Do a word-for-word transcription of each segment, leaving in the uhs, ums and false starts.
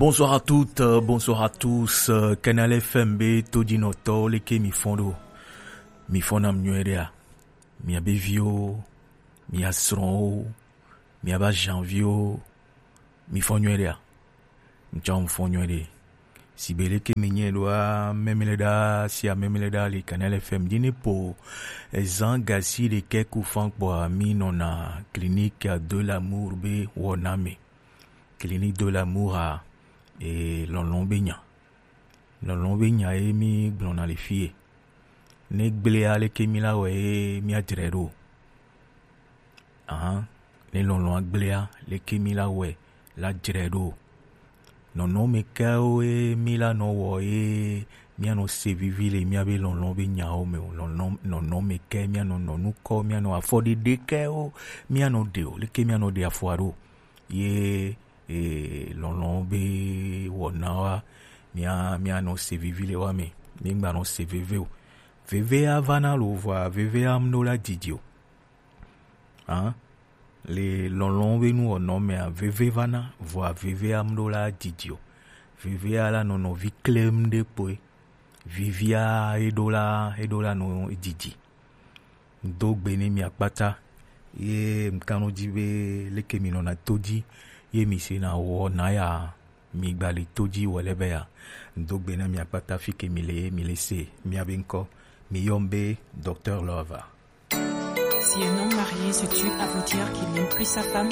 Bonsoir à toutes, euh, bonsoir à tous. Euh, Canal F M be todinɔtɔwo, leke mi fɔn ɖo? Mi fɔn nam nyuie ɖea? Mia be viwo, mia srɔ̃wo, mia ba janviwo, mi fɔn nyuie ɖea? Ŋtsɔ mi fɔn nyuie ɖe. Si be leke mi nyuie ɖoa, mɛmi le ɖa sia mɛmi le ɖa le Canal F M dzi ne po ezan gasi ɖekɛ ku fan kpɔa mi nɔna Clinique de l'amour be wɔna me. Clinique de l'amour a e lɔlɔ̃ be nya. Lɔlɔ̃ be nya ye mi gblɔna le fie. Ne gblea leke mi la wɛ ye mi adzre ɖo. Ahan, ne lɔlɔ̃a gblea leke mi la wɛ la dzre ɖo. Nɔnɔme kewo ye mi la nɔ wɔ ye mianɔ se vivi le miabe lɔlɔ̃ be nyawo me o. Lɔlɔ̃ nɔnɔme ke mianɔ nɔ nukɔ, mianɔ afɔɖeɖe kewo mianɔ ɖe o. Leke mianɔ ɖe afɔa ɖo? Ye e, lɔlɔ̃ be wɔnawoa, mia mianɔ se vivi le wa me. Mi gbanɔ se veve o. Vevea vana lo vɔa vevea mɖo la didi o. Hã? Le lɔlɔ̃ be nuwɔnɔ mea, veve vana vɔa vevea mɖo la didi o. Vevea la nɔnɔ vi klem ɖe kpoe. Vivia eɖo la eɖo la nɔ didi. Do gbe ne mi akpata ye mkanɔ dzi be leke mi nɔna to dzi ye mi se na wɔ na ya mi gba le to dzi wɔ le be ya. Do gbe na mi akpata fi ke mi le ye mi le se mia be ŋkɔ. Mi yɔm be Docteur Love. Si un homme marié se tue avant-hier qu'il n'aime plus sa femme,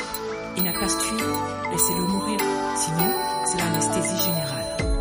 il n'a qu'à se tuer, laissez-le mourir. Sinon, c'est l'anesthésie générale.